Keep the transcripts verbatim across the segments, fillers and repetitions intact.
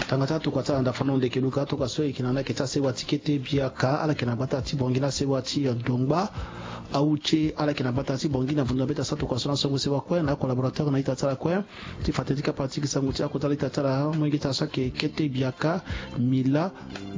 Tanga ti atokua ti ala na dafa na ndeke luka atokua so e yeke na ni ayeke ti asewa ti kete biaka ala yeke na gbata ti Bangui na asewa ti, eh, Dongba. Ahuche ala yeke na gbata ti Bangui na vundu na be ti asa tokua so na songo sewa kue na acollaborateur na ita ti ala kue. Ti fa tënë ti kapa ti gi sango ti akota la ita ti ala molenge ti ala so ayeke kete biaka Mila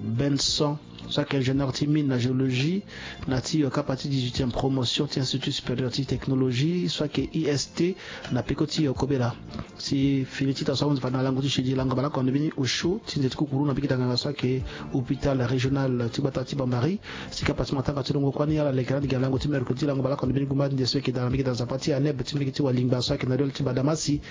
Benson. So ayeke ingénieur ti mine na géologie na ti, eh, kapa ti dix-huitième promotion ti Institut supérieur ti technologie so ayeke I S T na peko ti, eh, kobela. Si fini ti ita so ahunzi fade na lango ti jeudi lango bale oko na ndo mbeni osio ti nze ti kukuru na mbiki danganga so ayeke hôpital régional ti gbata ti Bambari. Si kapa ti matanga ti longo kuâ ni ala leke na ande gi na lango ti mercredi lango bale oko na ndo mbeni gumba ti nze so ayeke daa na mbiki daa Nzapa ti Aneb ti mbiki ti Walingba so ayeke na liol ti Badamasi.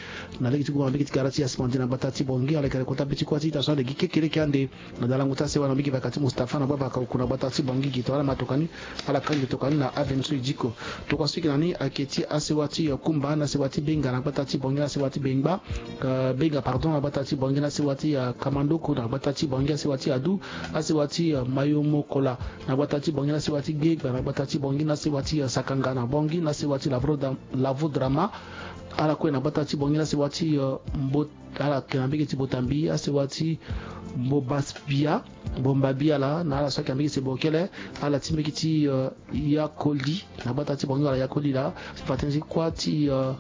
Na lege ti gumba na mbiki ti gara ti Yasmandi na gbata ti Bangui ala yeke na kota be ti kuâ ti ita so ande gi kekereke ande. Na dalango ti asewa na mbiki vaka ti Mustapha na bâ vaka oku na gbata ti Bangui gi to ala ma tokua ni. Ala kangbi tokua ni na avenue so e diko. Tokua so e yeke na ni ayeke ti asewa ti, eh, Kumba na asewa ti Benga na gbata ti Bangui na asewa ti Bengba, eh, Benga pardon na gbata ti Bangui na asewa ti, eh, Kamandoko na gbata ti Bangui asewa ti Adu, asewa ti, eh, Mayomokola na gbata ti Bangui na asewa ti Gegba na gbata ti Bangui na asewa ti, eh, Sakanga na Bangui na asewa ti Lavro-, Lavodrama. Ala kue na gbata ti Bangui na asewa ti, eh, Mbo ala yeke na mbege ti Botambi asewa ti Mbobasbia, Bombabi ala na ala so ayeke na mbege ti Bokele, ala ti mbege ti, eh, Yakoli na gbata ti Bangui wala Yakoli laa. Ti fa tënë ti kuâ ti, eh,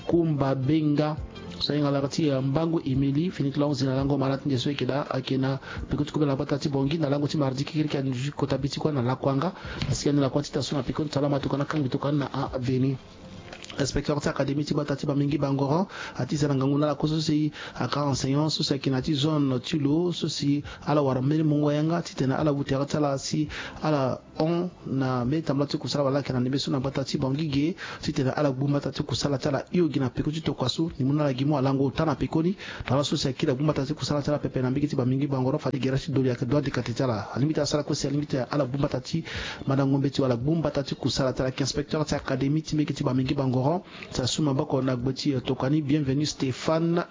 Kumba Benga so ahinga laa ti, eh, Mbangu Emili fini ti lango zi na lango mara ti nze so ayeke daa ayeke na peko ti kobela na gbata ti Bangui na lango ti mardi kekereke ande kota be ti kuâ na Lakuanga. Asi ande na kuâ ti ita so na peko ti ala ma tokua ni akangbi tokua ni na aveni. Inspecteur ti académie ti gbata ti Bamingui Bangoran ati za na ngangu na ala kue so si aka enseignant so si ayeke na ya ti zone ti lo so si ala wara mbeni mungo yanga titene ala wu tere ti ala si ala hon na mbeni tambula ti kusala wala ala yeke na ndembe so na gbata ti Bangui ge titene ala gbu mbata ti kusala ti ala hio gi na peko ti tokua so. Ni mu na ala gi mu alango ota na pekoni. Tongana so si akiri agbu mbata ti kusala ti ala pepe na mbege ti Bamingui Bangoran fade gere ti doli ayeke dua dikate ti ala. Alingbi ti asara kue si alingbi ti ala gbu mbata ti madango mbeti wala gbu mbata ti kusala ti ala ayeke inspecteur ti académie ti mbege ti Bamingui Bangoran. Si asu maboko na gbe ti, eh, tokua ni Bienvenu Stéphane,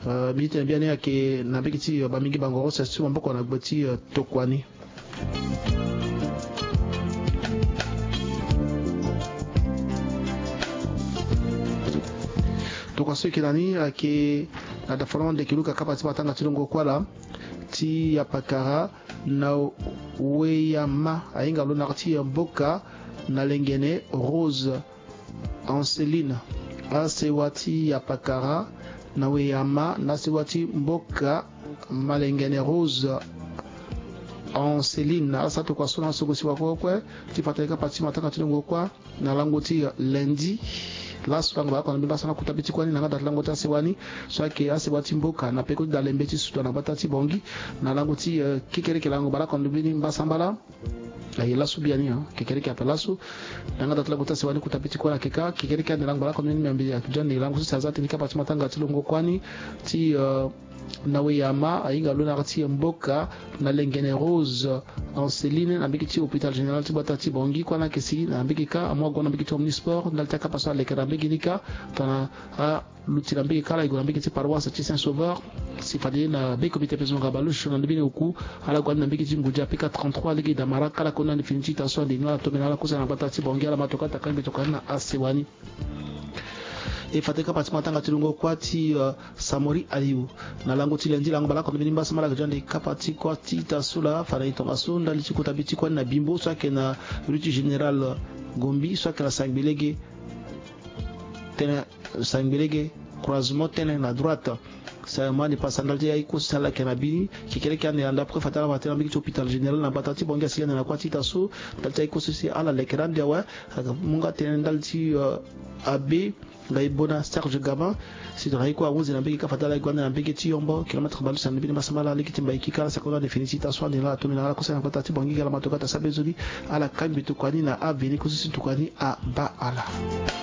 eh, mbi tene biani ayeke na mbege ti, eh, Bamingui Bangoran si asu maboko na gbe ti, eh, tokua ni. Tokua so eke na ni ayeke na dafa na ndeke luka kapa ti matanga ti longo kuâ laa ti Yapakara na Weyama ahinga lo na ti Mboka na Lengene Rose Anceline. Asewa ti Yapakara na Weyama na asewa ti Mboka Malengene Rose Anceline. Ala sara tokua so na songo sewa kue kue ti fa tënë kapa ti matanga ti longo kuâ na lango ti lundi. Laso lango bale oko na mbeni mbasambala kota be ti kuâ ni na yanga daa ti lango ti asewa ni so ayeke asewa ti Mboka na peko ti dalembe ti sutua na gbata ti Bangui na lango ti, eh, kekereke lango bale oko na mbeni mbasambala. Aye laso biani, hein, kekereke ape laso. Na yanga daa ti lango ti asewa ni kota be ti kuâ na yeke kâ kekereke ande lango bale oko na mbeni miambe ayeke daa ande lango so si aza tënë ti kapa ti matanga ti longo kuâ ni ti, eh, na Weyama ahinga lo na yanga ti Mboka na Lengene Rose Anceline na mbege ti hôpital général ti gbata ti Bangui kuâ ni ayeke si na mbege kâ amu ago na mbege ti omnisport ndali ti akapa so aleke na mbege ni kâ tongana aluti na mbege kâ ala gue na mbege ti paroisse ti Saint Sauveur. Si fade na be comité pezonga baloche na ndö mbeni oku ala gue ande na mbege ti Ngudi apeka trente-trois lege damara kâ ala koni ande fini ti ita so ande ni ala tombe na ala kosa na gbata ti Bangui ala ma tokua ti akangbi tokua ni na asewa ni. E fa tënë kapa ti matanga ti longo kuâ ti, eh, Samori Aliou na lango ti lundi lango bale oko na mbeni mbasambala ayeke daa ande kapa ti kuâ ti ita so laa fa na e tongaso ndali ti kota be ti kuâ ni na Bimbo so ayeke na rue ti général Gombi so ayeke na sangbe lege tënë sangbe lege croisement tënë na droite. Si amu ande pasa ndali ti aye kue so si ala yeke na bi ni kekereke ande ande après fa ti ala ma tënë na mbege ti hôpital général na gbata ti Bangui asi ande na kuâ ti ita so ndali ti aye kue so si ala leke na ande awe. Ayeke mu nga tënë ndali ti, eh, abe Ngaibona Serge Gabin. Si tongana aye kue ahunzi na mbege kâ fa ti ala ye gue ande na mbege ti Yombo kilomètre baleuse na mbeni mbasambala lege ti Mbaiki kâ ala sako ande fini ti ita so ande na ala tongbi na ala kosa na gbata ti Bangui ga ala ma tokua ti asara be nzoni. Ala kangbi tokua ni na aveni kue so si tokua ni abaa ala.